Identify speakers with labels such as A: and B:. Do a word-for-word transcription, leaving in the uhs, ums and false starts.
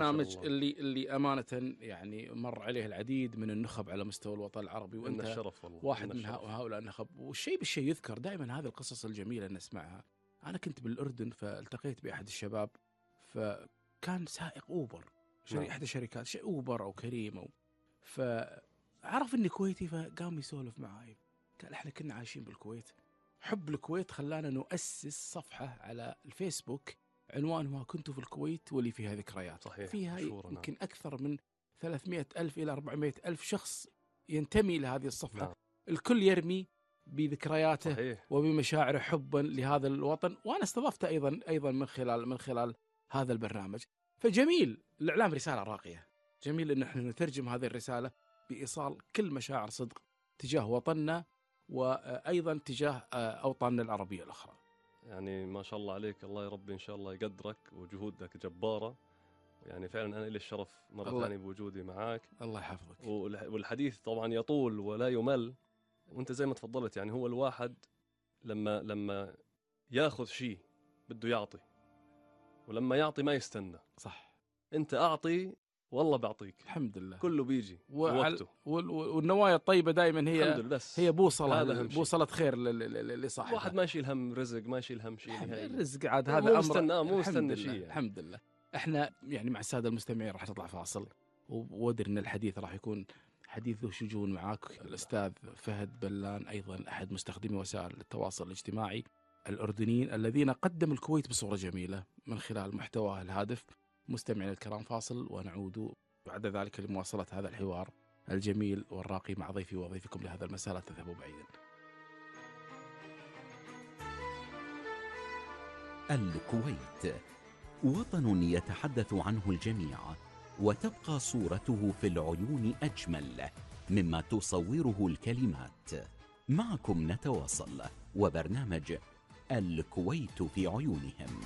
A: البرنامج اللي اللي أمانة يعني مر عليه العديد من النخب على مستوى الوطن العربي، وأنت
B: الشرف والله.
A: واحد من هؤلاء النخب. والشيء بالشيء يذكر دائما هذه القصص الجميلة اللي نسمعها. أنا كنت بالأردن فالتقيت بأحد الشباب، فكان سائق أوبر شركة
B: نعم.
A: إحدى الشركات شيء أوبر أو كريم أو فعرف إني كويتي، فقام يسولف معاي قال إحنا كنا عايشين بالكويت، حب الكويت خلانا نؤسس صفحة على الفيسبوك عنوانها كنت في الكويت ولي فيها ذكريات.
B: صحيح.
A: فيها
B: مشهورة.
A: يمكن نعم. أكثر من ثلاثمائة ألف إلى أربعمائة ألف شخص ينتمي لهذه الصفحة. نعم. الكل يرمي بذكرياته صحيح. وبمشاعره حبا لهذا الوطن، وأنا استضفته أيضا أيضا من خلال من خلال هذا البرنامج. فجميل الإعلام رسالة راقية، جميل إن احنا نترجم هذه الرسالة بإيصال كل مشاعر صدق تجاه وطننا وأيضا تجاه أوطاننا العربية الأخرى.
B: يعني ما شاء الله عليك، الله يا رب إن شاء الله يقدرك وجهودك جبارة. يعني فعلا أنا لي الشرف مرة ثانية بوجودي معاك.
A: الله يحفظك.
B: والحديث طبعا يطول ولا يمل، وانت زي ما تفضلت يعني هو الواحد لما لما ياخذ شيء بده يعطي، ولما يعطي ما يستنى.
A: صح.
B: انت أعطي والله بعطيك.
A: الحمد لله.
B: كله بيجي وقته.
A: والنوايا الطيبة دائما هي
B: الحمد لله
A: هي بوصلة بوصلة خير لصاحبها.
B: واحد ما يشيل هم رزق، ما يشيل هم شيء نهائي.
A: الرزق عاد هذا
B: مو
A: أمر
B: مستنى مو مستنى شيء يعني.
A: الحمد لله. احنا يعني مع السادة المستمعين راح نطلع فاصل، وودر ان الحديث راح يكون حديث ذو شجون معاك الأستاذ فهد بلان، أيضا أحد مستخدمي وسائل التواصل الاجتماعي الأردنيين الذين قدموا الكويت بصورة جميلة من خلال محتواه الهادف. مستمعين الكرام فاصل ونعود بعد ذلك لمواصلة هذا الحوار الجميل والراقي مع ضيفي وضيفكم لهذا المساء. لا تذهبوا بعيدا.
C: الكويت وطن يتحدث عنه الجميع، وتبقى صورته في العيون أجمل مما تصوره الكلمات. معكم نتواصل وبرنامج الكويت في عيونهم.